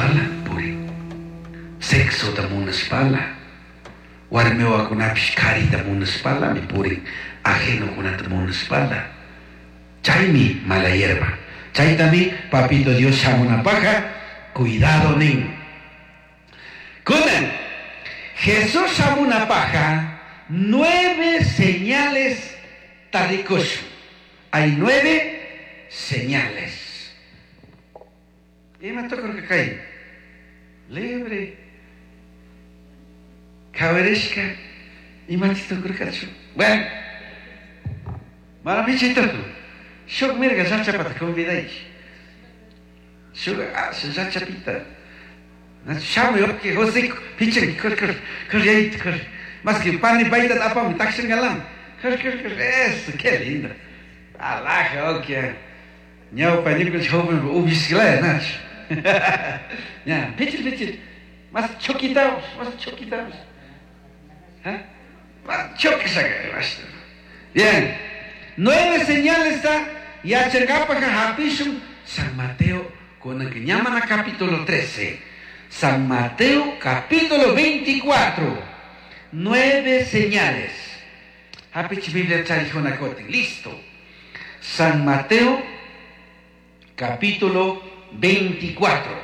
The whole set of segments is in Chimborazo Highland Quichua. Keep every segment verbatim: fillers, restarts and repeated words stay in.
munashpala purin. Sexota munashpala. Warmi wawakunapish karita munashpalami purin. Ajenokunata munashpala. Chaymi mala hierba. Chaytami papito Dios shamunapajka cuidado nin. Kunan Jesús shamunapajka nueve señales tarikushun. Hay nueve señales. Ima tukurka kay? Libre. Kawerishka. Ima tukurkachu? Bueno. Mana pichay tuku. Shuk mirga llachapata convidayki. Shuk llachapita. Shamuy okay José pichay kor kor kor yayito kor. Más que pan y baita apami takshangalam. Kor kor kor eso, qué lindo. Alaja, okay. Ñawpa ñukanchik joven ubishkalaya nachu. Ya, pichil pichil. Más choquitamos, más choquitamos. ¿Ah? Más choquisaka. Bien. Nueve señales está yachankapaja hapishun San Mateo con el que llaman a capítulo trece. San Mateo capítulo veinticuatro. Nueve señales. Hapich Biblia charijona kotin. Listo. San Mateo capítulo veinticuatro.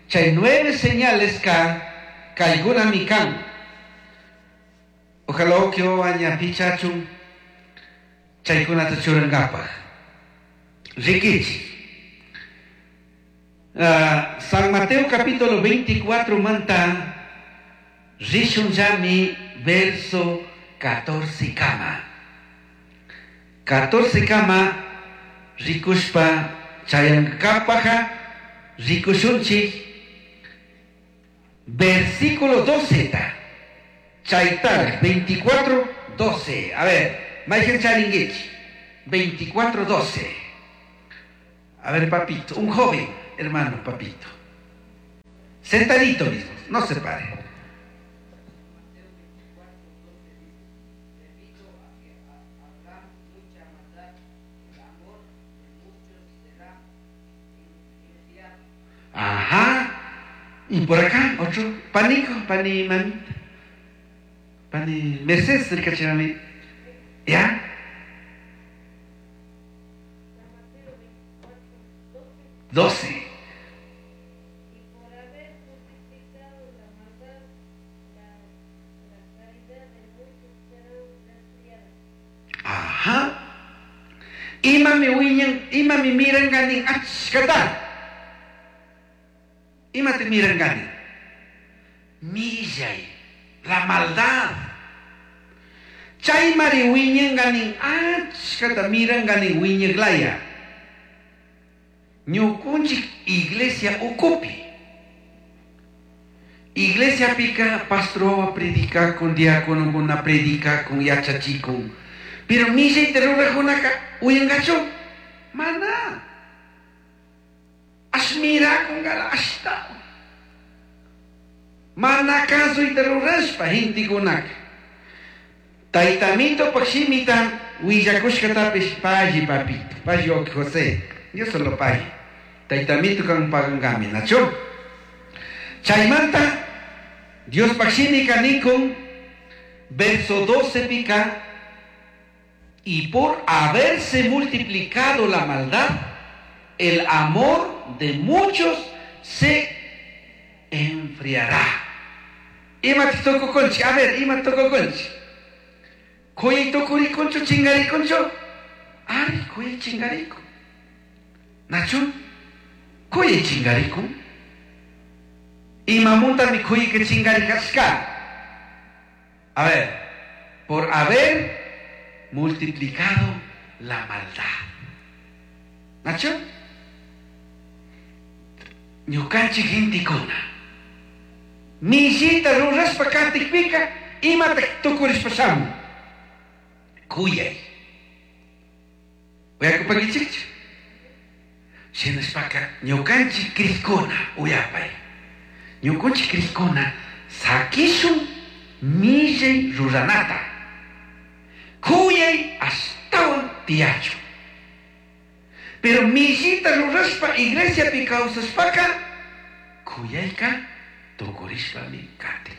Chay nueve señales ka kayguna mikan. Ojalá que aña pichachun chaykunata churankapaj. Rikichi. Uh, San Mateo capítulo veinticuatro manta rishun yami verso catorce kama. catorce kama rikushpa chayankapaja rikushunchik versículo doce ta. Chaytar veinticuatro doce. A ver, Michael Charinguich, veinticuatro doce. A ver, papito, un joven, hermano, papito. Sentadito mismo, no se pare. Ajá. Y por acá, otro, panico, pani mamita. Pani Mercedes, el cachemami. ¿Ya? doce. Y por haber multiplicado la maldad, la, la caridad de muchos será enfriada. Ajá. Ima mi wiñan, ima mi miran ganin achkata. Ima te miran ganin. Millay, la maldad. Chaymari wiñan ganin achkata miran ganin wiñaglaya. Ñukunchik iglesia ukupi. Iglesia pica pastor predica con diácono con predica con yachachikun. Pero millay te rurajunaka uyangachu. Mana. Ashmira con gala ashta. Mana caso y te rurashpa hintikunaka. Taitamito pakshimita willakushkatapish payi papito. Payi ok José. Yo solo payi. Taitamito kan pagangami nacho. Chaymanta Dios pakshimika nikun verso doce pica. Y por haberse multiplicado la maldad, el amor de muchos se enfriará. Ima toko conchi, a ver, ima toko conchi. Koyi tokuri concho, chingari concho. Ari, koyi chingarico. Nacho, koyi chingarico. Ima munta mi koyi que chingari kashka. A ver, por haber multiplicado la maldad. Nacho, ñukanchik gentikuna. Millita rurashpa katikpika imatak tukurishpa shamun. Kuyay. Uyakupankichikchu. Shinashpaka ñukanchik krikuna uyapay. Ñukanchik krikuna sakishun millay ruranata. Kuyay ashtawan tiyachu. Pero millita rurashpa iglesiapi kawsashpaka Kuyayka tukurishpami katin.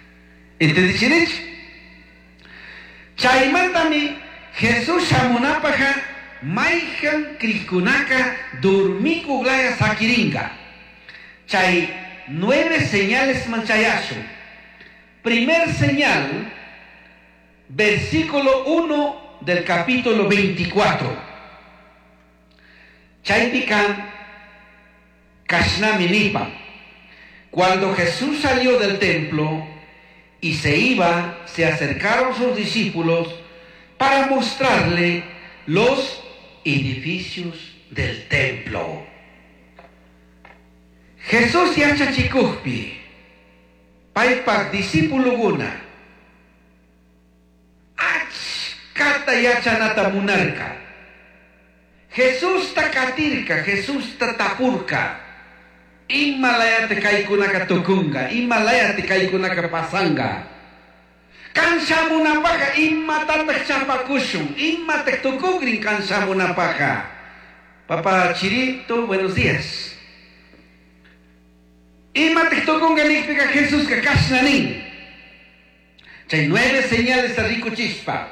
¿Entendichinich? Chaymantami Jesús shamunapaja mayhan krishkunaka durmikuglaya sakiringa. Chay nueve señales manchayashu. Primer señal, versículo uno del capítulo veinticuatro. Chaypikan kashnami nipa. Cuando Jesús salió del templo y se iba, se acercaron sus discípulos para mostrarle los edificios del templo. Jesús yachachikujpi, paypak discípulokuna, achkata yachanata munarka. Jesusta katirka, Jesusta tapurka. Imalayate kaykunaka tukunga, imalayate kaykunaka pasanga. Kan shamunapaja imatataq chapakushun, imataq tukugrin kan shamunapaja. Papá Chirito, buenos días. Imataq tukunga nikpika Jesuska kashna nin. Chay nueve señales rikuchispa.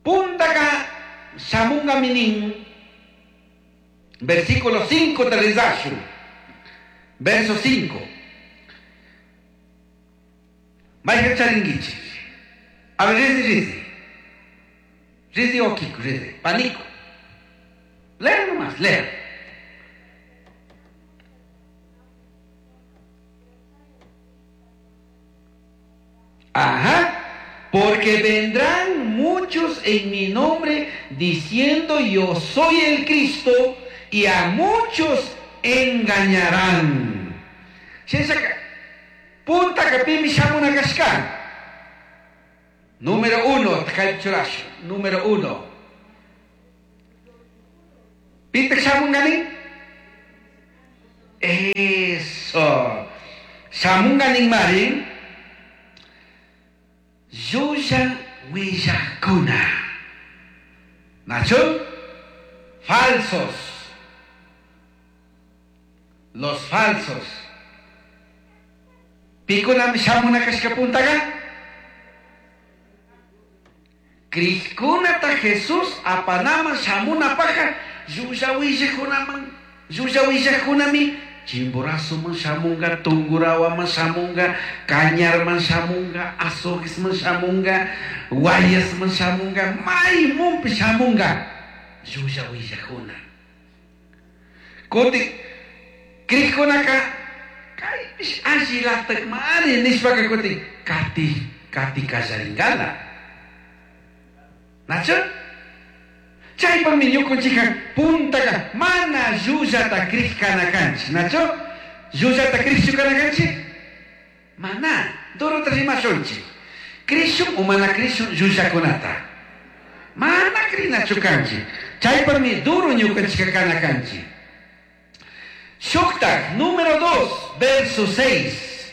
Puntaka shamunga minin. Versículo cinco de Rizashu. Verso cinco. Vaya charinguichi. A ver, rizi, rizi. Rizi o Kiko, rizi. Pánico. Lea nomás, lea. Ajá. Porque vendrán muchos en mi nombre diciendo yo soy el Cristo, y a muchos engañarán. Punta kapimi shamuna kashka. Número uno, número uno. ¿Pita shamunganin? Eso. Shamunganin mari. Llulla willakuna. ¿Nacho? Falsos. Los falsos. Pikunami shamuna kashka puntaga. Krishkunata Jesús apanama shamuna paja. Llulla willakunaman. Llulla willakunami. Chimborazoman shamunga, Tungurahuaman shamunga, Cañarman shamunga, Azoguesman shamunga, Guayasman shamunga, Maimumpi shamunga. Llulla willakuna. Kuti krishkunaka kaypish allilatak mari nishpaka kuti kati kati kallaringala. Nacho? Chaypami ñukunchika puntaka mana llullata krish kana kanchik. Nacho? Llullata krishchu kana kanchik? Mana, durota rimashunchik. Krishun o mana krishun llullakunata. Mana krinachu kanchik. Chaypami duro ñukunchika kana kanchik. Shuktak, número dos, verso seis.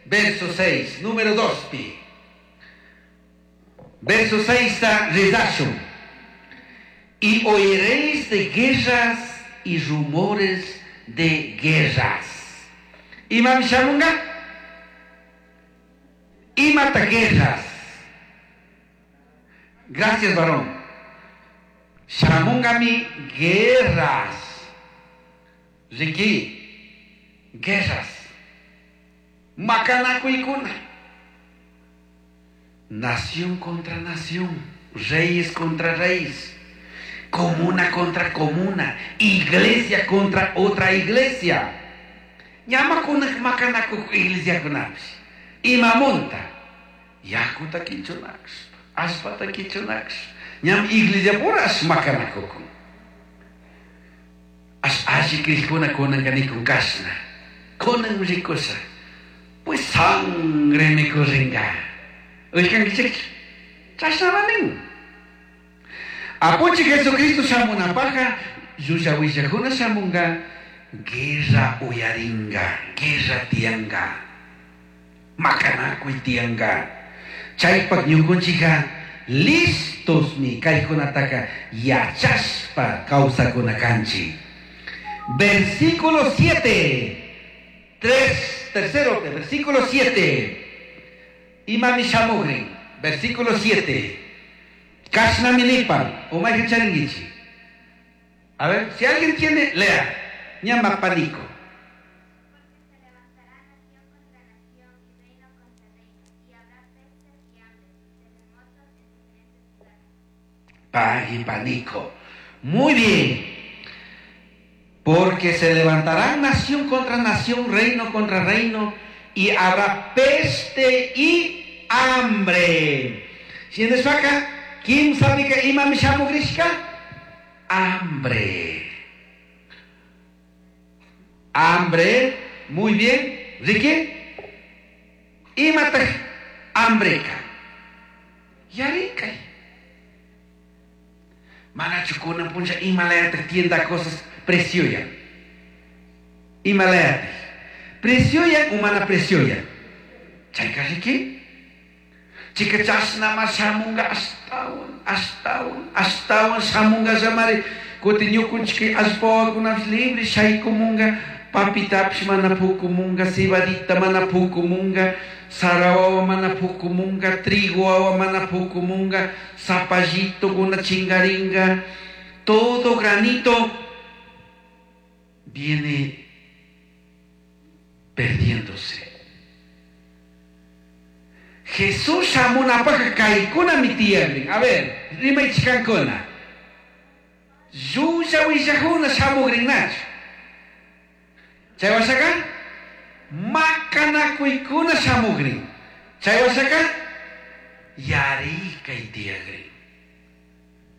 Verso seis, número dos, pi. Verso seis está rezashun. Y oiréis de guerras y rumores de guerras. Imam shamunga? Imata guerras. Gracias, varón. Shamunga mi guerras. Ricky, guerras. Macanacuicuna. Nación contra nación, reyes contra reyes, comuna contra comuna, iglesia contra otra iglesia. Llama con macanacu iglesia con apis. Imamonta. Yakuta kichunax, aspata kichunax. Ñam iglesia puras macanacucun. As alli krishkuna kunankanikun kashna. Kunan rikusa. Pues sangre mi kurringa. Uykankichik. Chashnamanin. Apunchi Jesucristo shamunapaja, llulla willakuna shamunga, guerra uyaringa, guerra tianga, makanakuy tianga. Chaypak ñukunchika listos mi kaykunataka yachashpa kawsakuna kanchik. Versículo siete. Tres, tercero, versículo siete. Imami shamugrin. Versículo siete. Kashnaminipan. Umayja charingichi. A ver, si alguien tiene, lea. Ñama panico. Porque se levantará nación contra nación y reino contra reino, y habrá pestes y hambres y terremotos en diferentes lugares. Pagui panico. Muy bien. Porque se levantará nación contra nación, reino contra reino, y habrá peste y hambre. Shinashpaka, kimsapika imami shamugrishka? Hambre. Hambre, muy bien. Ricky, imataj hambreka. Yarikay. Manachu kunan punlla imalayataq tienda cosas precioya. Imalayataq. Precioya o mana precioya. Chayka riki. Chika chashnama shamunga ashtawan, ashtawan, ashtawan shamunga llamari. Kuti ñukunchik allpawakunapish libre shaykumunga, papitapish mana pukumunga, cebadita mana pukumunga, sara wawa mana pukumunga, trigo wawa mana pukumunga, zapallito kuna chingaringa, todo granito viene perdiéndose. Jesús shamunapaj kaykuna mi tiyagrin. A ver, rimaychikankuna. Llulla willajuna shamugrinnachu. Chay washaka makanakuykuna shamugrin. Chay washaka yarikay tiyagrin.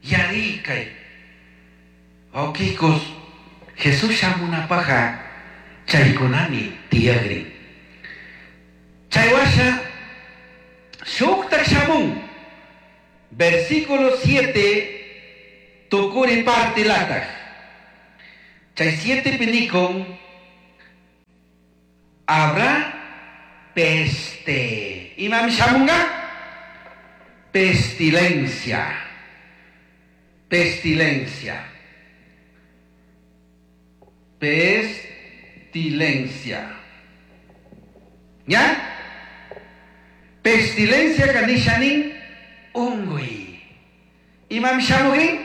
Yarikay. Wawqikos, Jesús shamunapaja chaykunami tiyagrin. Chay washa shuktak shamun. Versículo siete tukuri parte lataj. Chay siete pinikon habrá peste. Imam shamunga? Pestilencia. Pestilencia. Pestilencia. ¿Ya? Pestilencia kanishanin ungui. Imam shamugin?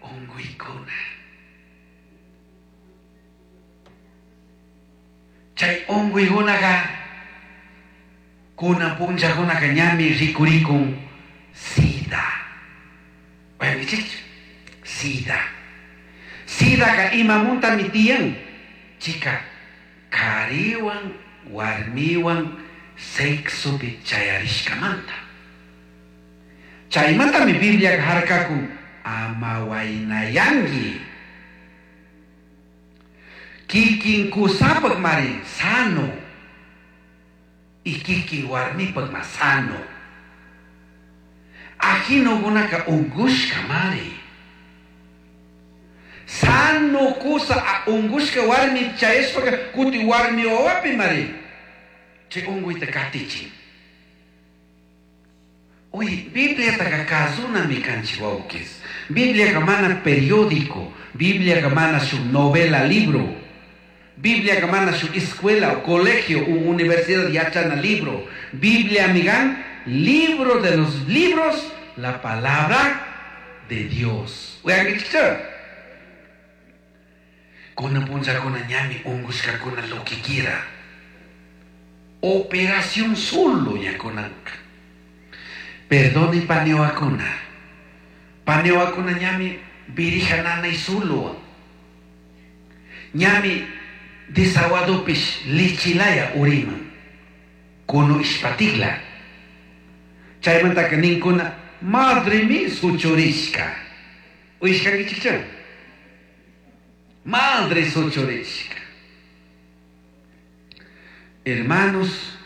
Unguikuna. Chay unguikunaga kuna punllakunaka ñami rikurikun sida. Oyankichikchu? Sida. Sidaka imamuntami tiyan. Chika, kariwan, warmiwan sexopi chayarishkamanta. Chaymantami Biblia harkakun ama waynayanki. Kikin kusapak mari sano. Y kikin warmipak ma sano. Ajino gunaka ungushka mari. Sano kusa a ungushka warmi chayashpaka kuti warmi wawapi mari. Chay unguyta katichin. Oye, Biblia taka kazunami kanchik wawkis. Biblia mana periódico, Biblia mana su novela, libro. Biblia mana su escuela o colegio o universidad yachana libro. Biblia amigan, libro de los libros, la palabra de Dios. Kuna puncha kuna ñami ungushka kuna lo que quiera. Operación solo ya kunanka. Perdone paneoakuna. Paneoakuna ñami virija nana y solo. Ñami desaguadopish lichilaya uriman. Kuno ishpatigla. Chaymantaka ninkuna madre mi suchurishka. Uishkankichikcha. Madre suchurishka. Hermanos,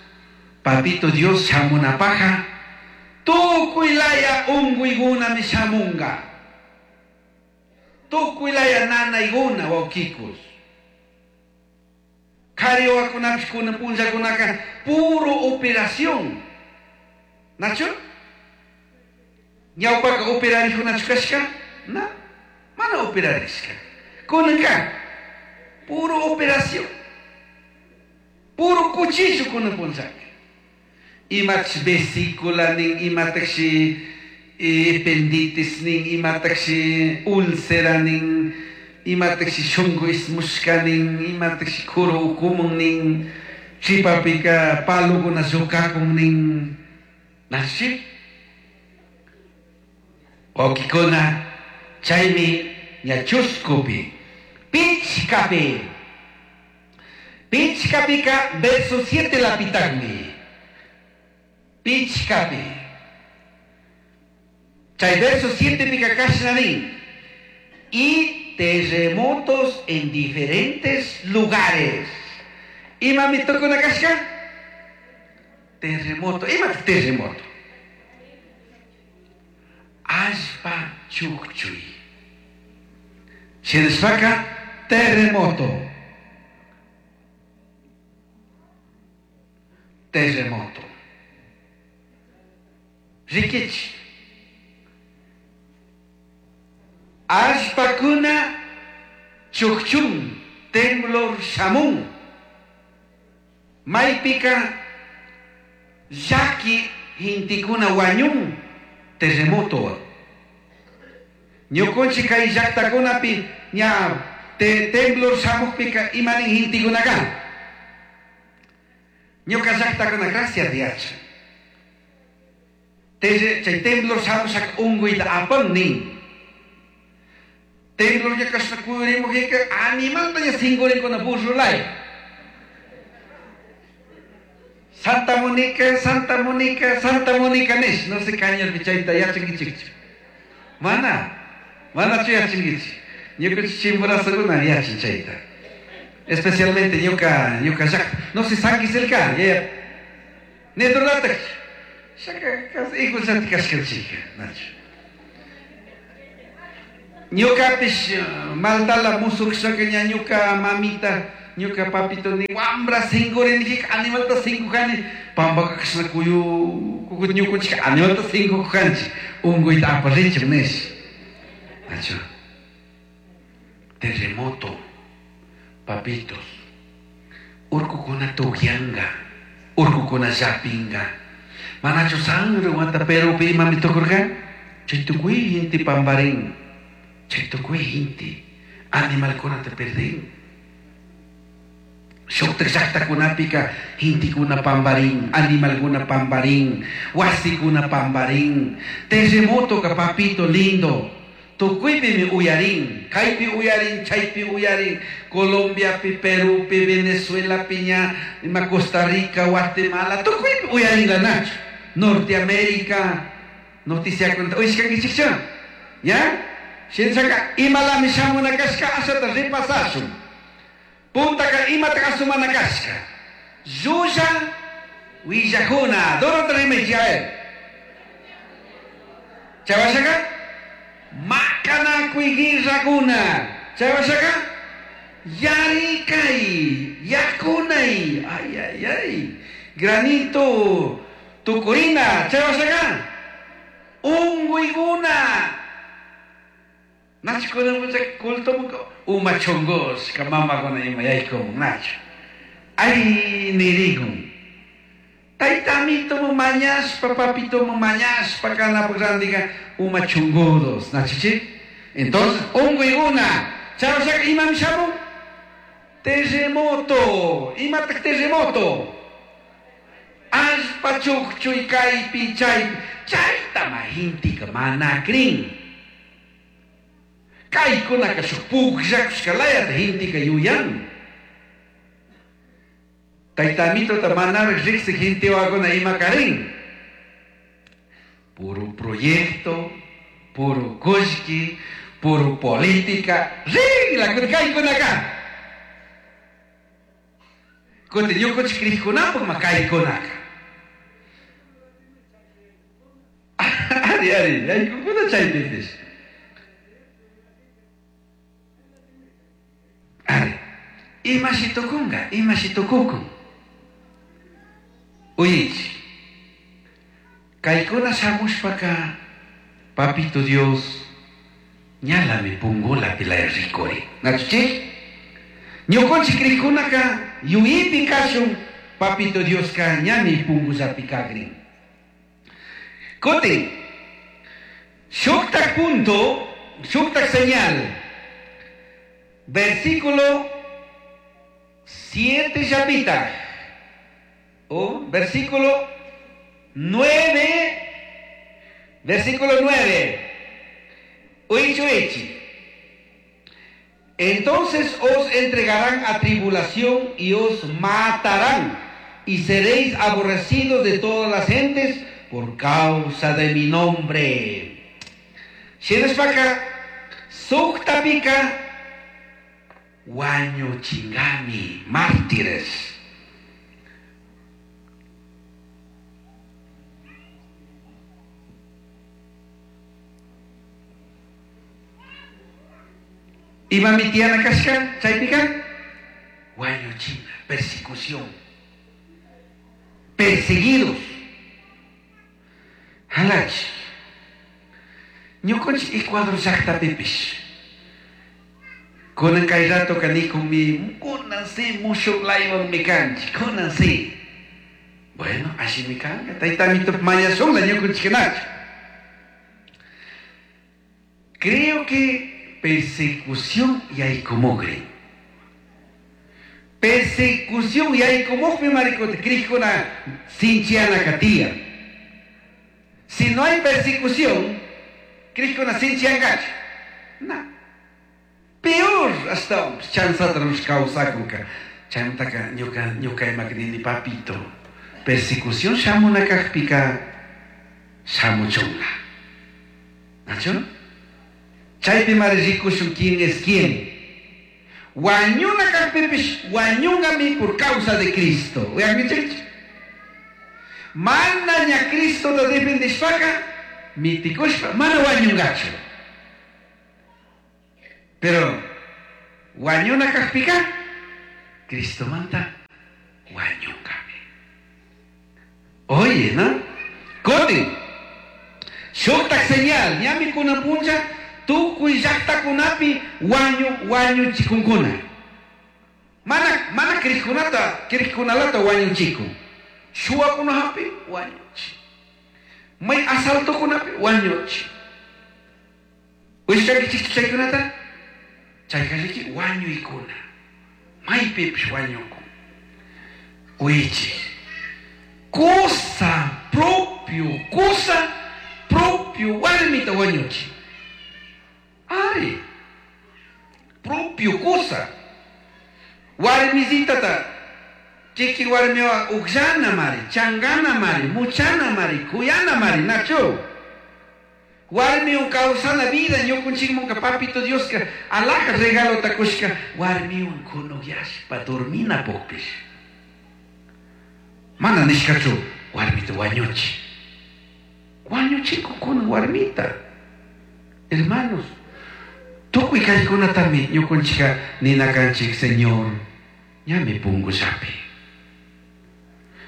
papito Dios shamunapaja. Tukuylaya unguiguna mi shamunga. Tukuylaya nanayguna wawkikus. Kari wawakunapish kunan punllakunaka puro operación. Nacho? Ñawpaka operarijunachu kashka? Na, mana operarishka. Kunanka Puro operación. Puro cuchillo con el punzac. Imach vesícula nin, imatakshi ependitis nin, imatakshi úlcera nin, imatakshi shungu ismushka nin, imatakshi kuru ukumun nin, chipapika palukuna llukakun nin. Nashi? Okikuna, chaymi ña chuskupi, pichkapi. Pichkapika verso siete lapitagmi. Pichkapi. Chay verso siete pica kashnanin. Y terremotos en diferentes lugares. Ima mi tocó una kashka? Terremoto. Ima terremoto. Allpa chukchui. Shinashpaka terremoto. Terremoto. Rikichi. Allpakuna chukchun, temblor shamun. Maypika llaki hintikuna wañun terremoto. Ñukunchik kay llaqtakunapi ña te, temblor shamuqpika imanin hintikunaka. Ñuka llaqtakuna gracias diacha. Te, chay temblor shamushak unquyta apan nin. Temblor ña kashna kuyurimuqika animalta ña sinkurinkuna burrulay. Santa Mónica, Santa Mónica, Santa Mónica nish. No sé kañarpi chayta yachankichikchu. Mana, manachu yachankichik. Ñukanchik Chimborazokuna yachan chayta. Especialmente ñuka, ñuka llaqta. No sé Sanquiselka, yaya. Neturlatak. Shaka kas igual kashkanchika, nachu. Ñukapish maltala musukshaka ña ñuka mamita, ñuka papito ni wambra sinkurinijika animalta sinkujani pampaka kashna kuyu kukut ñukunchika animalta sinkujanchik unquyta aparinchik nish. Nachu. Terremoto, papitos, urkukuna tukyanga, urkukuna llapinga. Manachu sangre wata Perupi imami tukurka? Chay tukuy inti pamparin, chay tukuy inti animalkunata perdin. Shuktak llaqtakunapika intikuna pamparin, animalkuna pamparin, wasikuna pamparin. Terremoto ka papito lindo. Tukuypimi uyarin, kaypi uyarin, chaypi uyarin, Colombiapi, Perupi, Venezuela, piña, ima Costa Rica, Guatemala, tukuypi uyarin nachu. Norteamérica, noticia cuenta, uyashkankichikchu, ¿ya? Shinashaka imalami shamuna kashka ashata ripasashun. Puntaka imata asumana kashka. Llulla willakuna, dorota rimaychik, a ver. Chay Makanakuy guerrakuna. Chay washaka yarikay, yakunay, ay ay ay. Granito tukurina, chay washaka unquykuna. Nachukuna mucha culto uma chongos ka mamakuna ima yaykumun nachu. Ay nirikun. Taytamito mu mañashpa, papito mu mañashpa kanapaq rantika uma chungudos, nachichik. Entonces, unquykuna. Chay washaka imami shamun? Terremoto. Imataq terremoto? Allpa chukchuy kaypi chaypi. Chaytama hintika mana krin. Kaykunaka shuk pukllakushkalayata hintika yuyan. Taytamitota manaraq riqsik hintiwakuna ima karin. Puro proyecto, puro kullki, puro política. Rinla kaykunaka. Kutin ñukunchik kriqkunapaq ma kaykunaka. Ari, ari, yaykukuna chaypipish. Ari, imashi tukunka, imashi tukukun. Uyinchik. Kaykuna shamushpaka, papito Dios, ñalami pungulapi laya rikuri. Nachuchik? Ñukanchik krikunaka yuyipi kashun papito Dioska ñami pungullapi kagrin. Kutin, shuktak punto, shuktak señal. Versículo siete llapita. O versículo nueve, versículo nueve. Uichi, uichi. Entonces os entregarán a tribulación y os matarán, y seréis aborrecidos de todas las gentes por causa de mi nombre. Shinashpaka, suktapika, wañuchingami, mártires. Ima mi tiana kashka, chaypika, wañuchina, persecución, perseguidos. Halach, ñukanchik Ecuador llaqtapipish. Kunan kay rato kanikun mi, kunan si mushuk laywan mi kanchik, kunan si. Bueno, allí mi kanka, taytamito mañashunla ñukanchikkunachu. Creo que persecución yaykumugrin. Persecución yaykumugmi maricota, krikuna sinchiana katía. Si no hay persecución, krikuna sinchiangachu. No. Peor hasta chanzata nos causakunka. Chaymantaka ñuka ñuka imakrini papito. Persecución shamuna kajpika shamuchunla. ¿Nacho? Chaypi mari rikushun quién es quién. Wañuna kajpipish wañungami por causa de Cristo. Uyankichikchu. Mana ña Cristo ta defendishpaka mitikushpa mana wañungachu. Pero wañuna kajpika Cristo manta wañungami. Oye, ¿no? Kutin. Shuktak señal, ñami kuna puncha tukuy llaqtakunapi wañu wañuchikunkuna. Mana mana kriqkunata kriqkunalata wañuchikun. Shuwakunapi wañuchi. May asaltokunapi wañuchi. Uyashkankichikchu chaykunata? Chaykariki wañuykuna. Maypipish wañukun. Uyichik. Cosa propio, cosa propio warmita wañuchi. Ari, propio cosa. Warmisitata, chiki warmiwa ukllana mari, changana mari, muchana mari, kuyana mari, nacho. Warmiwan kawsana vida, ñukunchikmunka papito Dioska, alhaja regalota kushka, warmiwan kunukyashpa dormina pukpish. Mana nishkachu, warmita wañuchi. Wañuchikukuna warmita. Hermanos, tukuy kaykunatami ñukunchika ninakanchik Señor, ñami pungullapi.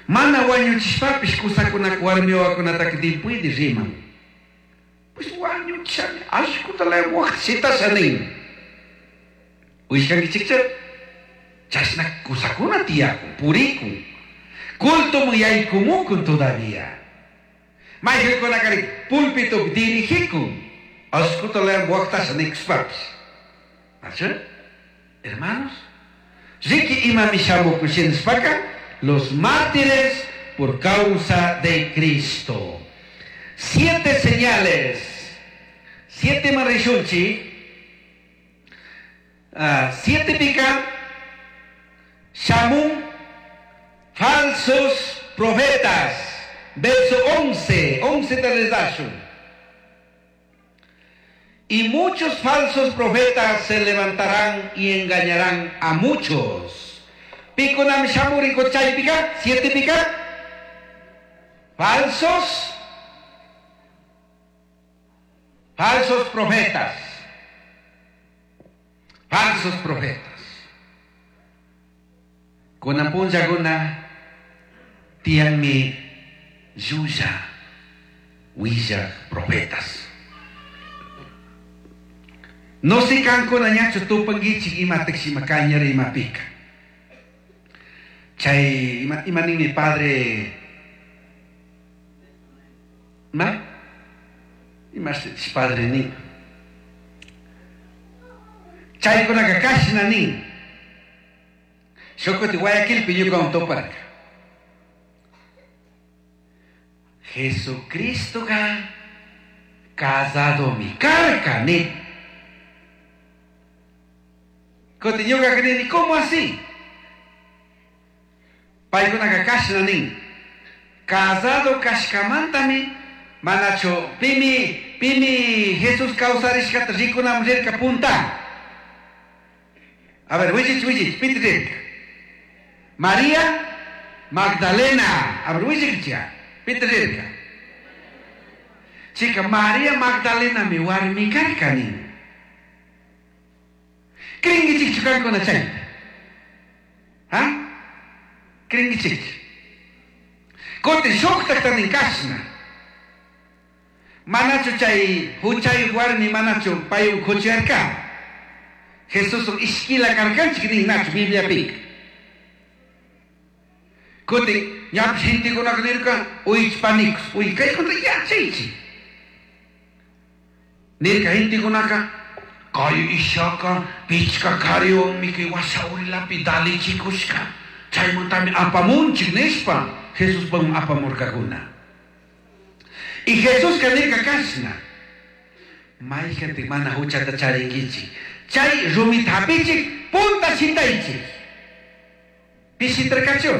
Mana wañuchishpapish kusakunaka warmiwakunataka dipuydi riman. Pues wañuchishami, ashkuta laya waqta shitasha nin. Uyashkankichikcha? Chashna kusakuna tiyakun, purikun. Cultoman yaykumukun todavía. Mayqinkunakari pulpitupi dirigikun. Ashkuta laya waqtasha nikushpapish. ¿Nachu? Hermanos, riki imami shamukun shinashpaka, los mártires por causa de Cristo. Siete señales. Siete marishunchi. Uh, siete pica. Shamun. Falsos profetas. Verso once. Once te. Y muchos falsos profetas se levantarán y engañarán a muchos. Pico nam shamuri chay pica. Siete pica. Falsos. Falsos profetas. Falsos profetas. Kunan punllakuna tiyanmi llulla willaq profetas. No sé kankuna ñachu tupankichik imatakshi ima kañara imapika. Chay ima, ima ninmi padre ma imash padre nin. Chaykunaka kashna nin. Shukuti Guayaquilpi ñukawan tuparka. Jesucristoka casado mi karka ni. Kuti ñuka nini, ¿cómo así? Paykunaka kashna nin. Casado kashkamantami manachu pimi pimi Jesús kawsarishkata rikunaman rirka punta. A ver, willich willich, piti rirka. María Magdalena. A ver, willich piti rirka. Chica, María Magdalena mi warmi karka nin. Kringichikchu kankuna chayta. ¿Ah? Kringichikchu. Kutin shuktakta nin kashna. Manachu chay huchayuq warmi manachu paywan kuchuyarka. Jesuswan ishkila karkanchik nin nachu Bibliapika. Kutin ñapish gentekunaka nirka uychpanikus, uy kaykunata yachaychik. Nirka gentekunaka kay ishaka pichka kariwanmi kay wasawrilapi dalichikushka. Chaymantami apamunchik nishpa Jesuspan apamurkakuna. Y Jesuska nirka kashna. Mayjantik mana huchata charinkichik. Chay rumita hapichik punta shitaychik. Pishitarkachu.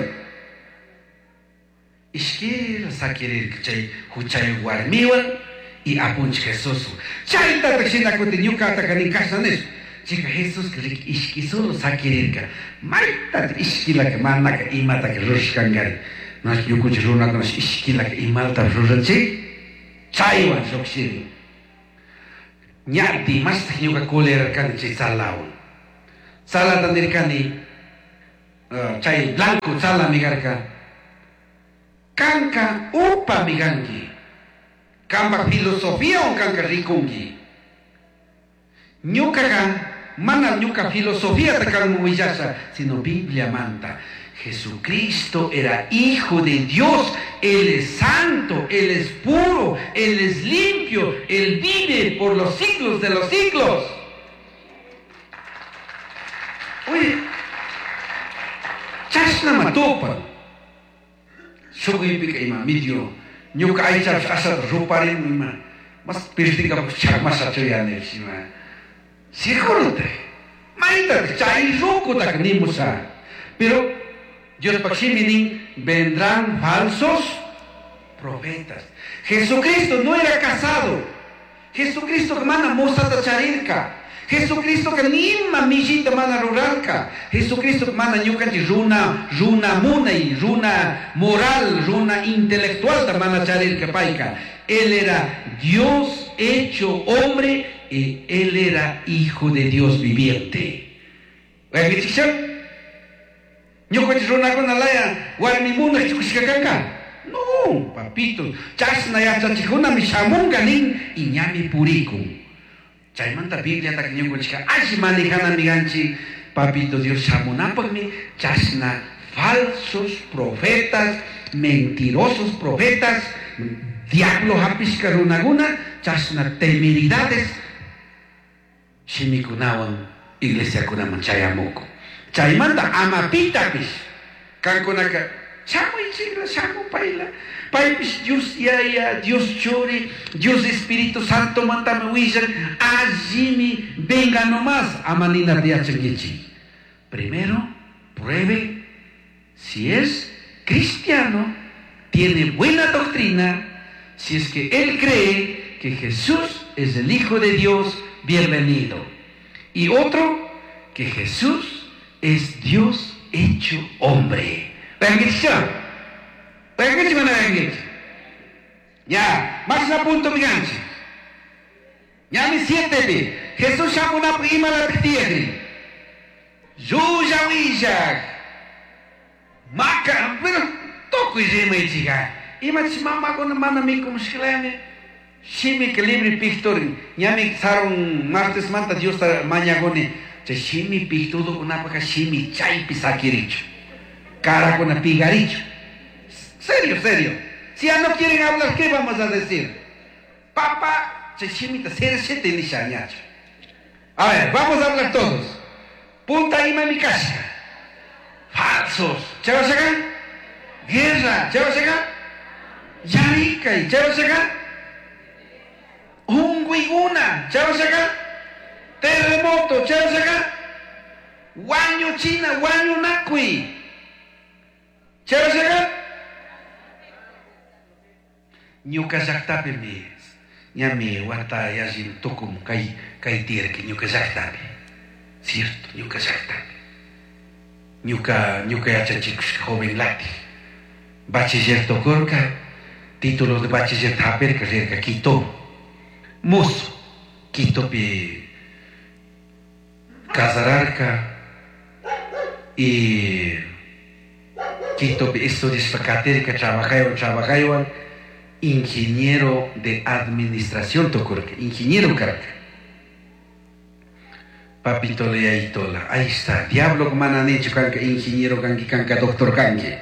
Ishkila sakirirka chay huchayuq warmiwan y apunchik Jesús. Chaytataq shinakutin ñuqataka nin kashna nishpa. Chika Jesuska riki ishki solo sakirirka. Maytataq ishkilaka manaka imataka rurashkankari. Nash ñukunchik runakunash ishkilaka imalata ruranchik. Chaywan lluqshirin. Ñati mastaq ñuqa kulerarkani chay tzalawan. Tzalata nirkani uh, chay blanco tzalami karka. Kanka upami kanki. Kanpak filosofiawan kanka rikunki. Ñuqaqa mana ñuqa filosofiata kanman willasha, sino Bibliamanta. Jesucristo era hijo de Dios, Él es santo, Él es puro, Él es limpio, Él vive por los siglos de los siglos. Oye, chashnama tupan. Shukuypika ima medio, ñuka aychapish ashata ruparin ima, mas pirtinkapak chakmashachu yanish ima. Seguro te, maytataq chay rukutaka nimusha. Pero Diospak shimi nin, vendrán falsos profetas. Jesucristo no era casado. Jesucristo mana mosata charirka. Jesucristo que nima millita mana rurarka. Jesucristo mana ñukanchik runa, runa munay, runa moral, runa intelectual ta mana charirka payka. Él era Dios hecho hombre y él era hijo de Dios viviente. Ñukanchik runakuna laya warmi munaq chukushka kanka. No, papito, chashna yachachikkunami shamunka nin y ñami purikun. Chaymanta Bibliataka ñukanchikka alli manejanami kanchik, papito Dios shamunapaqmi chashna falsos profetas, mentirosos profetas, diablo hapishka runakuna, chashna temeridades shimikunawan iglesiakunaman chayamukun. Chaymanta amapitapish kankunaka shamuychikla, shamupayla, paypish Dios Yaya, Dios Churi, Dios Espíritu Santo mantami willan, allimi venga nomás, ama ninata yachankichik. Primero, pruebe si es cristiano, tiene buena doctrina, si es que él cree que Jesús es el Hijo de Dios, bienvenido. Y otro, que Jesús es Dios hecho hombre. Ya, más a punto mi ganchi. Ya mi siete Jesús shamunapaq imalapaq tiyakrin. Llulla willaq. Maka, pero tukuy rimaychika. Imachish mamakuna mana mikumushkalami. Shimi que libre pictorin. Ñami sarun martes manta Dios ta mañagoni. Chay shimi pictudo kunapaka shimi chaypi sakirichu. Cara kuna pigarichu. Serio, serio. Si ya no quieren hablar, ¿qué vamos a decir? Papá, chay shimita sershete nisha ñachu. A ver, vamos a hablar todos. Punta ima mi casa. Falsos. ¿Chavas acá? Guerra. ¿Chavas acá? Yarika. ¿Chavas acá? Unguiguna. ¿Chavas acá? Terremoto. ¿Chavas acá? Guaño China. Guaño Nacui. ¿Chavas acá? Ñuka llaqtapi mi ñami wata yallin tukum kay kay tiyarki ñuka llaqtapi. Cierto, ñuka llaqtapi. Ñuka ñuka yachachikushka joven lati. Bachiller tukurka, título de bachiller hapirka rirka Quito. Muso, Quitopi casararka y Quitopi estudiashpa katirka trabajaywan trabajaywan ingeniero de administración tukurka, ingeniero karka. Papito leyaitola, ahí está, diablo mana nichu kanka ingeniero kanki kanka doctor kanki.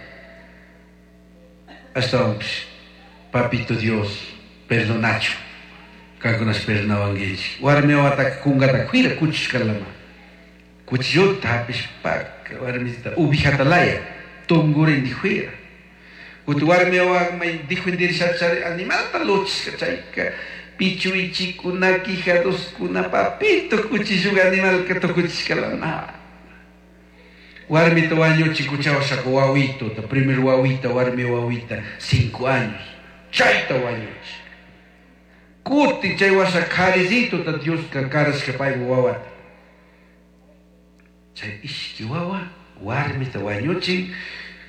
Hasta papito Dios perdonachu. Kankunas perdonawankichik. Warmi wawataka kunkata kuira kuchishkalama. Cuchillota hapishpaka warmisita ubijata laya tungurin dijuira. Kuti warmi wawa may dijuindirishachari animalta luchishka chayka pichuichikuna quijadoskuna papito cuchilluga animalka tukuchishkalama. Warmita wañuchi kuchawashaka wawito, primer wawita, warmi wawita, cinco años. Chayta wañuchi. Kuti chay washa karizito ta Dioska karashka paypa wawata. Chay ishki wawa, warmita wañuchin,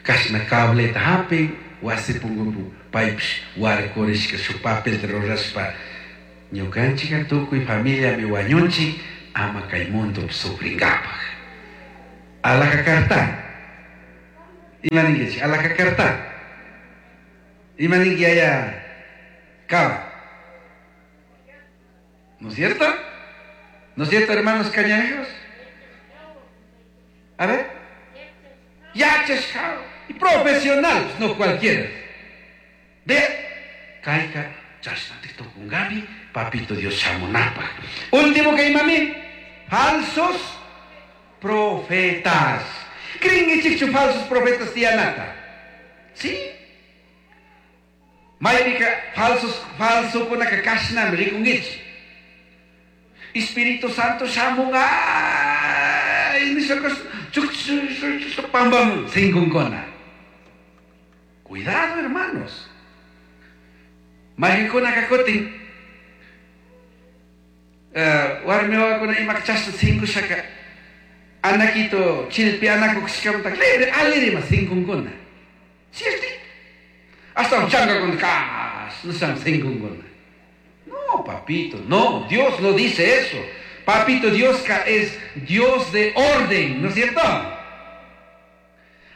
kashna cableta hapin, wasi punkupi paypish warkurishka shuk papelta rurashpa ñukanchika tukuy familiami wañunchik ama kay mundo sufrinkapaj. Alhaja karta. Ima ninkichik? Alhaja karta. Ima ninki yaya kaba. ¿No es cierto? ¿No es cierto, hermanos cañareros? A ver. Yachashkao. Y profesionales, no cualquiera. Ve, kayka, chashnati tukungapi, papito Dios shamunapa. Último que mami, falsos profetas. Kringichikchu falsos profetas tiyanata. ¿Sí? Maypika falsos falso kunaka kashnami rikunkichik. Espíritu Santo shamunga pam sinkunkuna. Cuidado, hermanos. Maykunaka kutin warmi wawakuna imaka chashna sinkushaka anakito chilpi anakushkamanta libre alirima sinkunkuna. ¿Cierto? Hasta chankakuna kas nisham sinkunkuna. No, papito, no, Dios no dice eso. Papito, Dios es Dios de orden, ¿no es cierto?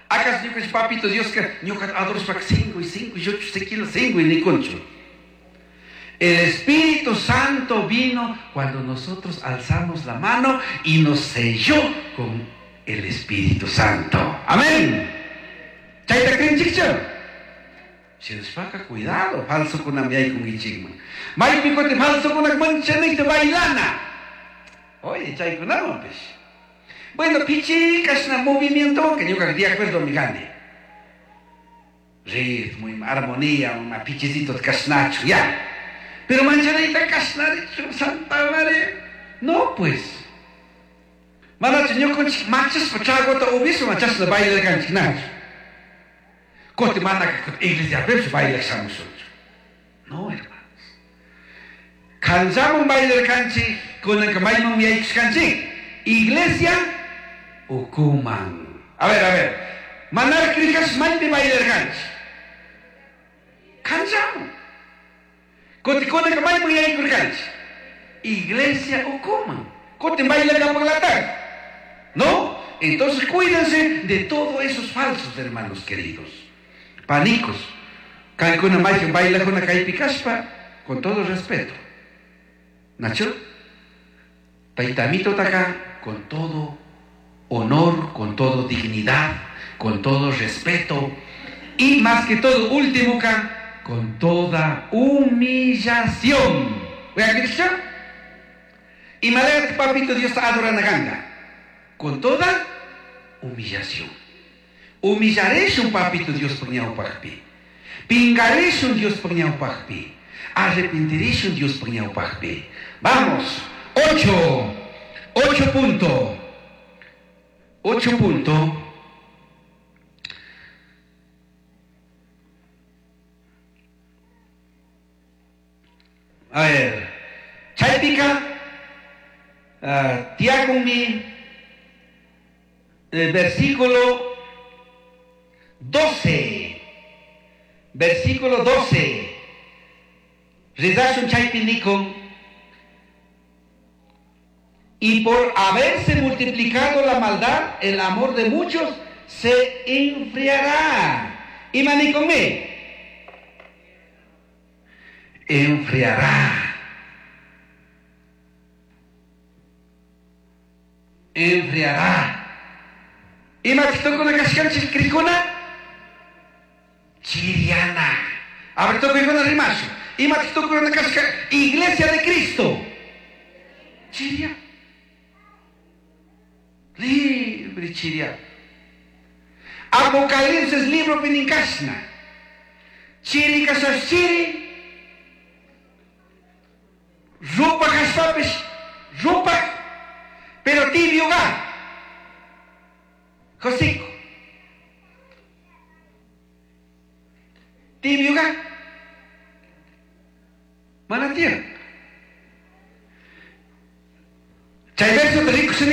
¿Acaso ñuka papito Dios que ñuka adorashpaka cinco y cinco y ocho kilos cinco y nikunchu? El Espíritu Santo vino cuando nosotros alzamos la mano y nos selló con el Espíritu Santo. Amén. Chayta krinchikchu. Shinashpaka cuidado, falso kunami yaykunkichikman. Maypi kuti falso kunak manchanikta bailana. Oye, chaykunawanpish. Bueno, pichi kashna movimiento que ñuka de acuerdo mi gane. Ritmo, armonía, una pichicito kashnachu, ya. Pero manchanita kashnarichu, Santa María. No, pues. Manachu ñukanchik machashpa tragota upishpa chashna bailarkanchik nachu. Kuti manaka iglesiapipish bailak shamushunchu. No, hermanos. Kanchaman bailarkanchik, kunanka mayman yaykushkanchik. Iglesia ukuman. A ver, a ver. Manar krikash maypi bailarkanchik. Kanchaman. Kuti kunanka mayman yaykurkanchik. Iglesia ukuman. Kuti bailarkapaklatak. ¿No? Entonces cuídense de todos esos falsos, hermanos queridos. Panicos. Kaykuna maykan bailakuna kaypi kashpa, Con todo respeto. Nacho? Taitamito taka con todo honor, con todo dignidad, con todo respeto y más que todo, último ka, con toda humillación. Y malaya papito Dios adora ganga. Con toda humillación. Humillaré un papito Dios pagpi. Pingaré un Dios pagpi. Arrepentiré un Dios pagpi. Vamos. Ocho. Ocho punto. Ocho punto. A ver. Chaypika. Uh, tiakunmi. El versículo doce. Versículo doce. Rizashun chaypi nikun. Y por haberse multiplicado la maldad, el amor de muchos se enfriará. Y manicomé. Enfriará. Enfriará. Y machitokuna kashkanchik krikuna chiriana. A ver, tokuna rimashu. Y machitokuna kashka Iglesia de Cristo. Chiria. Libre chiria. Apocalipsis libro pininkashna. Chiri kashas chiri. Rupa kashpapish. Rupa. Pero tibio ga. Josico. Tibio ga. Manatía. Chay verso te rico sin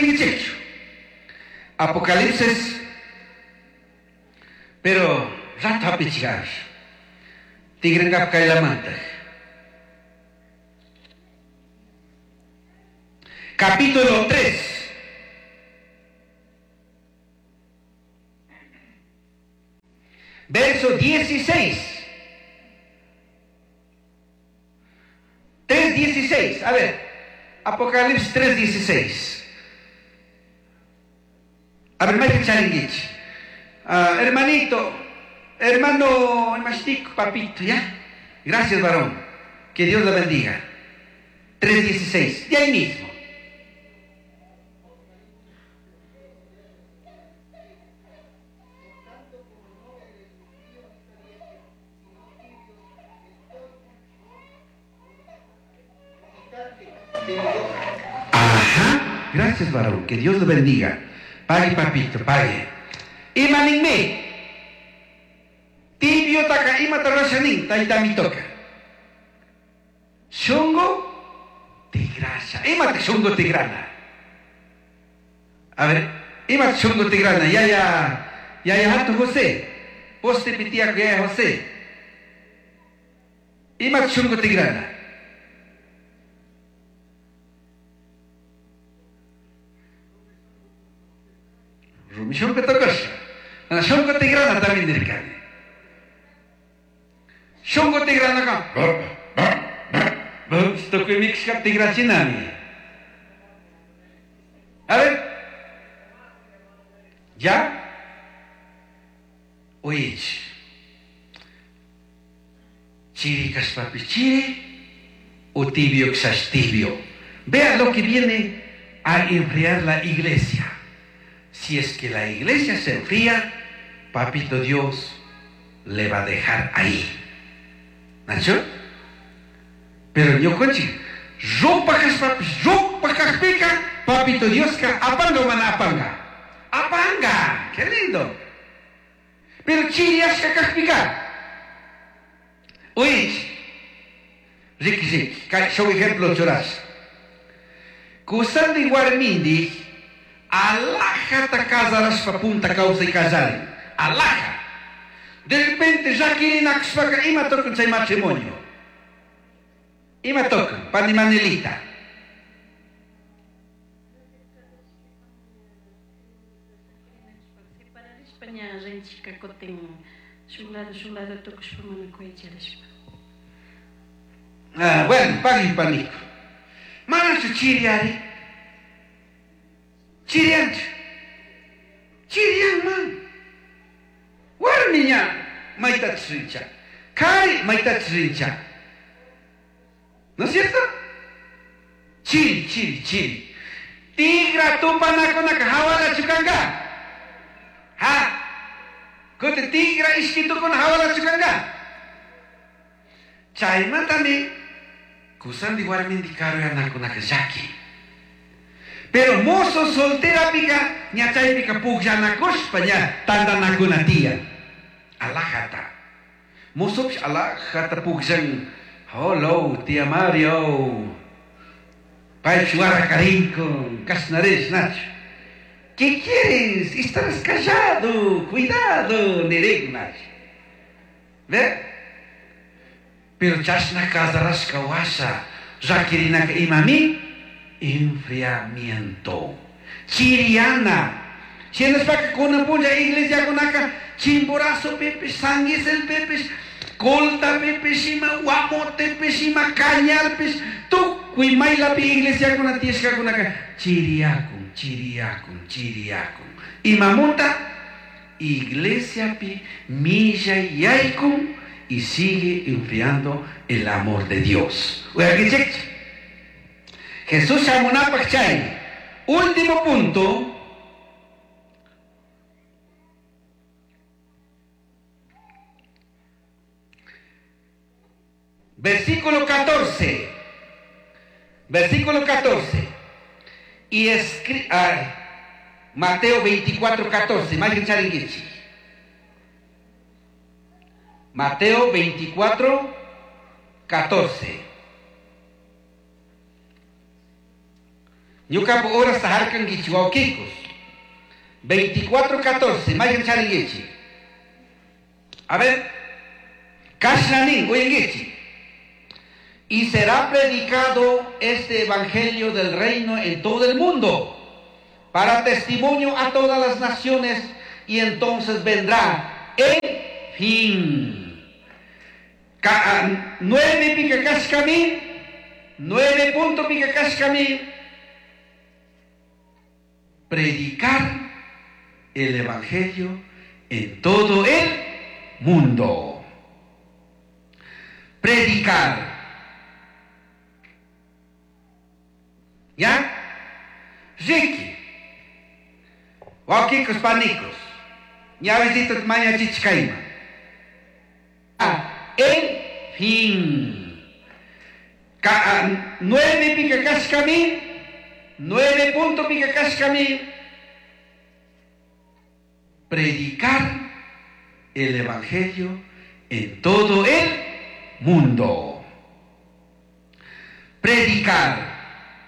Apocalipsis. Pero rato apichigar. Tigrengap kailamanta. Capítulo tres. Verso dieciséis. tres dieciséis. A ver. Apocalipsis tres dieciséis. A ver, Michael Charinguich. Uh, hermanito, hermano, hermanito, papito, ¿ya? Gracias, varón. Que Dios lo bendiga. tres dieciséis. De ahí mismo. Ajá. Gracias, varón. Que Dios lo bendiga. Pague, papito, pague. Imaninme. Tibio taka ima tarashanin, taitamitoka. Shungo tigrasha. Ima te shungo tigrana. A ver, ima te shungo tigrana. Ya ya, ya ya hato José. Poste pitia ya José. Ima te shungo tigrana. Rumi shungo tokasha. Shungo tigrana también nirkani. Shungo tigrana ka. Tukuy mikshka tigrachinami. A ver. ¿Ya? Oye. Chiri kashpapi chiri o tibio kshash tibio. Vea lo que viene a enfriar la iglesia. Si es que la iglesia se enfría, papito Dios le va a dejar ahí. ¿Nacho? Pero yo conchi, ropa kashpapi, ropa kashpika, papito Dios ka apanga o mana apanga. Apanga, qué lindo. Pero chiri ashka kashpika. Oye, Ricky Ricky, show ejemplo choras. Kusandi warmindi, alaja ta casarashpa punta causa y casari. Alaja. De repente ya quieren akshpaka ima tocan chay matrimonio. Ima tocan, pani manelita. Ah, bueno, pagui panico. Manachu chiriari. Chirianchu. Chirianman. Warmiña maytachu rincha. Kari maytachu rincha. ¿No es cierto? Chiri, chiri, chiri. Tigra tupanakunaka hawalachu kanka. Ha. Kuti tigra ishkitukuna hawalachu kanka. Chaymantami kusandi warmindi karuyanakunaka llaki. Pero mozo solterapika ña chaypika pukllanakushpa ña tantanakuna tiyan. Alajata. Mozopish alajata pukllan. Hello, tía Mario. Paypish warakarinkun, kashnarish nachu. ¿Qué quieres? Estás callado, cuidado, nirin nachu. ¿Ve? Pero chashna casarashka washa, raquirinaka imami, enfriamiento. Chiriana. Shinashpaka kunan punlla iglesiakunaka Chimborazo pipish, San Gisel pipish, Colta pipish, ima Guamote pish, ima Cañar pish, tukuy maylapi iglesiakuna tiyashkakunaka chiriyakun, chiriyakun, chiriyakun. Imamunta iglesiapi millay yaykun y sigue enfriando el amor de Dios. Jesús shamunapak chay. Último punto. Versículo catorce. Versículo catorce. Y escri ah, Mateo veinticuatro, catorce. Mateo veinticuatro, catorce. Ñukapu horas taharkankichi wawkikos. veinticuatro, catorce. A ver. Kashnanin, uyankichi. Y será predicado este evangelio del reino en todo el mundo, para testimonio a todas las naciones, y entonces vendrá el fin. Nueve pica kashkami, nueve punto pica kashkami. Predicar el evangelio en todo el mundo. Predicar. ¿Ya? Riki. Wawkikos panikos. Ñawisito mañachichkayma. Ah, el fin. Ka, nueve pica kashkami, nueve punto pica kashkami. Predicar el evangelio en todo el mundo. Predicar.